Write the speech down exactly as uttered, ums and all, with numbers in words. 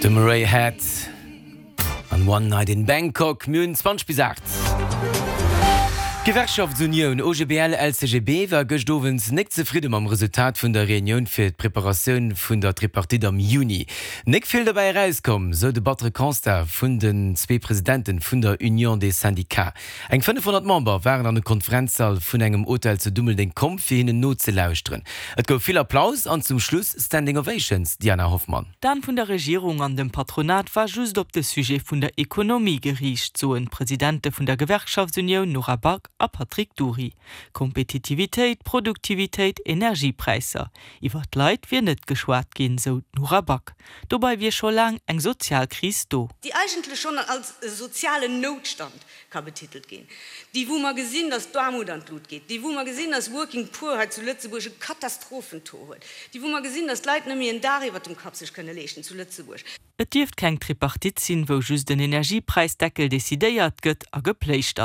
De Murray Head an One Night in Bangkok. Mir hunn zwanzeg bis aacht. D'Gewerkschaftsunioun O G B L L C G B war gëscht Owend net zefridde mam Resultat vun der Reunioun fir d'Preparatioun vun der Tripartite am Juni. Net vill dobäi erauskomm, sou de battere Constat vun den zwee Presidente vun der Union des Syndicats. Eng fënnefhonnert Member waren an de Konferenzsall vun engem Hotel zu Dummeldeng komm, fir hinnen nozelauschteren. Et gouf vill Applaus an zum Schluss Standing Ovations, Diana Hoffmann. D'An vun der Regierung an dem Patronat war just op de Sujet vun der Ekonomie geriicht, soen d'Presidente vun der Gewerkschaftsunioun Nora Back a Patrick Dury. Kompetitivitéit, Produktivitéit, Energiepräisser. Iwwer d'Leit wier net geschwat ginn, sou d'Nora Back. Dobäi wier scho laang eng Sozialkris do. Déi eigentlech schonn als sozialen Noutstand ka betitelt ginn. Déi wou mer gesinn, dass d'Aarmut an d'Lut geet, déi wou mer gesinn, dass Working Poor hei zu Lëtzebuerg e Katastrophentaux huet, déi wou mer gesinn, dass d'Leit net méi en Daach iwwer dem Kapp sech kënne leeschten zu Lëtzebuerg. Et dierft keng Tripartite sinn, wou just den Energiepräisdeckel decidéiert gëtt a gepléischtert.